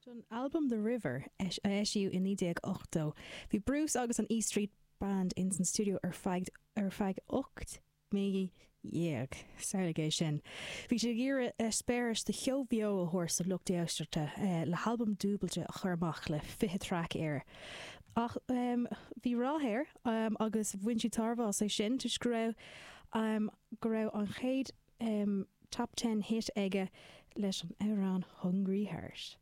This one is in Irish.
Don albam The River, a eisíodh i 1980, bhí Bruce agus an E Street Band ins an stiúideo ar feadh ar feadh 18 mí. Samhlaigh é sin. Bhí siad ag iarraidh eispéireas de cheol beo a thabhairt do lucht éisteachta le halbam dúbailte a chur amach le 20 traic air. Ach bhí rath air agus bhain siad tairbhe as é sin toisc go raibh go raibh an chéad Top Ten hit aige leis an amhrán Hungry Heart.